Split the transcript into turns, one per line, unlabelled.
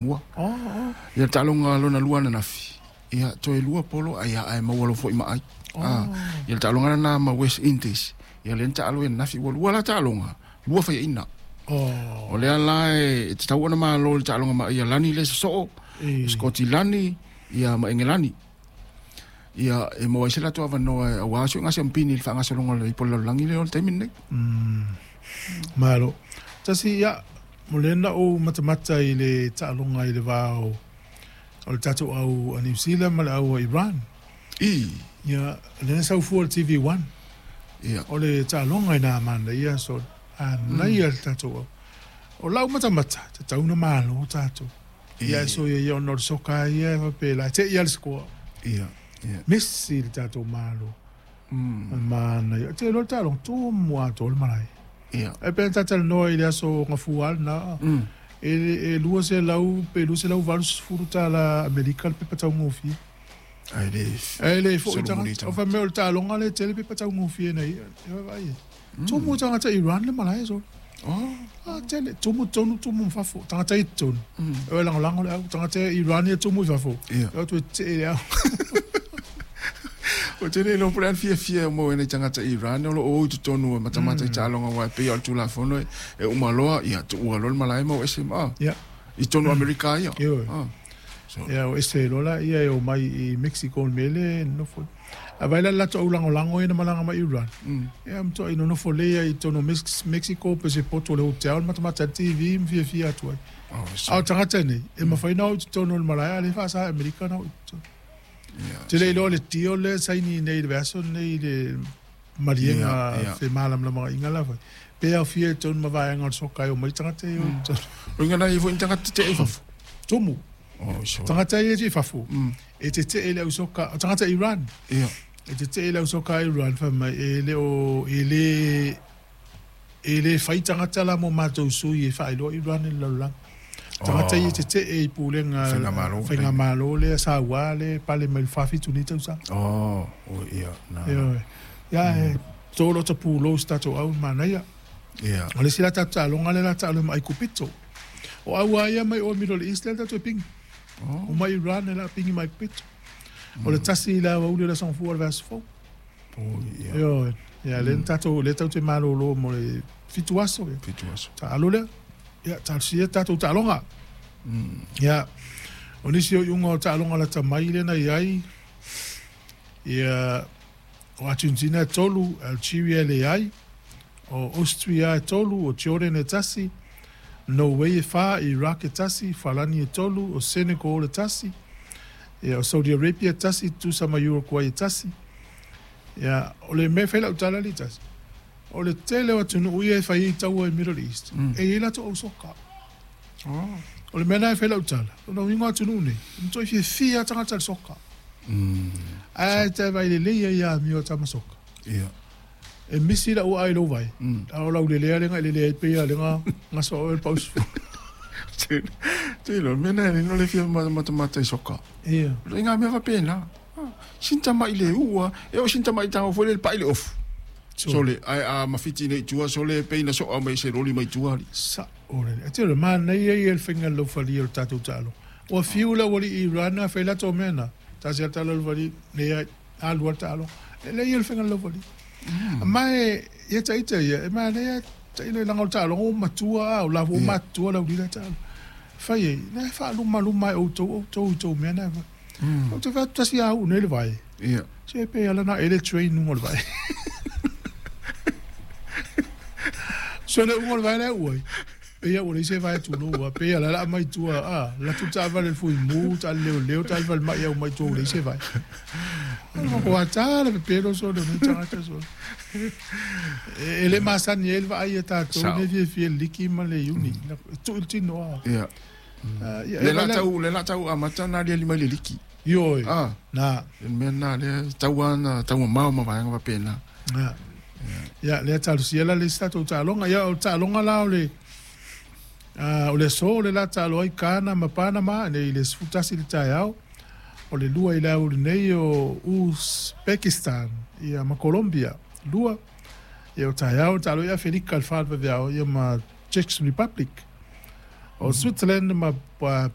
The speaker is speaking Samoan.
Mua. Ia le taaloga lona lua ananafi, ia toe lua polo ai ae maua loa foi ma ai. Ia le taaloga lena ma West Indies, ia lea na taalo ai ananafi ua lua la taaloga, lua faiaina. O lea la e tatau ona malo i le taaloga ma Aialani lea e sosoo, Sikotilani ia ma Engelani. Ia e maua ai se latou avanoa aua si o siampini i le faagasologa o le Ipu o le Lalolagi lea o le taimi lenei.
Malo. Tasi, ia, mo lea na ou matamata i le taaloga i le va o le tatou au a Niu Sila ma le au a Iran. Ia, lea na sau fua i le TV1. O le taaloga i na manaia so, manaia le tatou au. O lau matamata, tatau ona malo tatou. Ia, so ia, ia, ona o le soka ia e faapela, e te i lava le score. Misi le tatou malo. Manaia. Te iloa le taaloga, tumu atoa le malae. E pei ona talatalanoa i le aso Gafua lena, e 200 pe $280 Amerika le pepa taugofie. Ae le foi tagata. O fai mai o le taaloga lea e tele pepa taugofie na ia. E vaavaai i ai. Tumu tagata Iran le malae solo. Ah, tele. Tumu tonu, tumu ma fafo. Tagata i totonu. E lagolago le au. Tagata Iran ia tumu i fafo. E o atu e tetee le au.
Ou te le iloa po o le a le fiafia e maua ai nai tagata Iran o lo o o i totonu e matamata i taaloga aua e pei lava o le Tulafono e uma loa, ia tuua loa le malae ma o ese ma i totonu o Amerika ia.
Ia, o ese loa laia e omai i Mexico i le mea lea e nonofo ai. A vaai la i le latou au lagolago ia na malaga mai Iran, ia matuai nonofo lelei lava i totonu o Mexico pe se poto o le hotel matamata ai le TV ma fiafia atu ai. A o tagata nei, e mafai ona o i totonu o le malae a o lea e faasa e Amerika ona o i totonu. Ou te le iloa le deal lea e saini nei i le vaiaso lenei i le maliega femalamalamaaiga la foi, pe aofia i totonu ma vaega o le soka e omai tagata ia e o i totonu.
O lona uiga e i ai foi ni tagata tetee i fafo?
Tumu. Tagata ia i fafo, e tetee i le au soka, o tagata Iran. E tetee i le au soka a Iran fai mai e le o, e le, e le fai tagata la mo matou sui e faailoa Iran i le lalolagi. Tagata ia e tetee i pulega faigamalo lea saua lea e pale mai le 47 nei tausaga. Ioe. Ia e to lota pulou i se tatou au manaia. O le isi la tatou taaloga lea la taalo ai ma Aikupito. O au lava ia mai o Middle East lea tatou e pigi. O mai Iran lea la pigi ma Aikupito. O le tasi i le aoauli o le Aso Gafua o le vaiaso fou. Ioe. Ia lea na tatou lea tatou te malolo mo le 7 aso.
7 aso.
Taalo lea. Ia talosia tatou taaloga. Ia o nisi o iuga o taaloga lata mai lea na i ai ia o Argentina e 3, Algeria e leai, o Austria e 3, o Jordan e 1, Norway e 4, Iraq e 1, Falani e 3, o Senegal e 1, ia o Saudi Arabia e 1, tutusa ma Uruguay e 1. Ia, o le mea e fai lau tala alii tasi, o le tele o atunuu ia e fai ai taua i Middle East, e i ai latou au soka. O le mea lena e fai lau tala, o lona uiga o atunuu nei, e matuai fiafia lava tagata i le soka. Ae te vaai lelei ai ia amio a tama soka. E misi lau aai i lou vae, a o lau lelea lea na e lelea ai pei lava o lea na gasa oe le pausu.
Te lo, mea na e le fia matamata i soka.
Ia.
I ngā mea faapena. Sina tama'i le ua, e oo sina tama'i tago foi lea le pa'i le ofu. Sole, ae a mafiti nei i tua, sole pei na soa mai se loli mai tua alii.
Sa'o lelei. Ae te iloa, manaia ia le faiga laufalia o le tatou taaloga. Ua fiu le aualii i Iran a fai latou mea na, tasi lava le tala o le aualii, leai, alu lava le taaloga. Lelei ia le faiga laufalia. Ma e, ia ita ia, e manaia tailo leaga o le taaloga ua matua a, o la foi ua matutua le aualii la e taalo. Fai ai, na e faalumaluma e outou outou i tou mea na e fai. Ou te fai atu tasi a uu nei le vae. Se pe ala na ele train luga o le vae. So le uga o le vae la e uu ai. Pei a ua leai se vae tulou a, pei a la la aumai tua a, alu atu le taavale i le fuimu, taavale leoleo, taavale falemai aumai tua ua leai se vae. O ata le pepelo sole o nei tagata sole. E le masani ai le vaai a tatou nei fiafia i le liki ma le iuni. E tuu i le tino a.
Le la tau, le la tau amata na aliali mai le liki.
Ioe. Na.
Le mea na lea tau ana tau mamao ma vaega faapena.
Na. Ia, lea talosia la le isi tatou taaloga. Ia, o le taaloga la o le o le aso le la taalo ai Ghana ma Panama nei i le 11 i le taeao. O le 2 i le aoauli nei o Uzbekistan ia ma Colombia 2. Ia o taeao taalo ai Afelika i le 4 i le vaveao ia ma Czech Republic. O Switzerland ma Bosnia.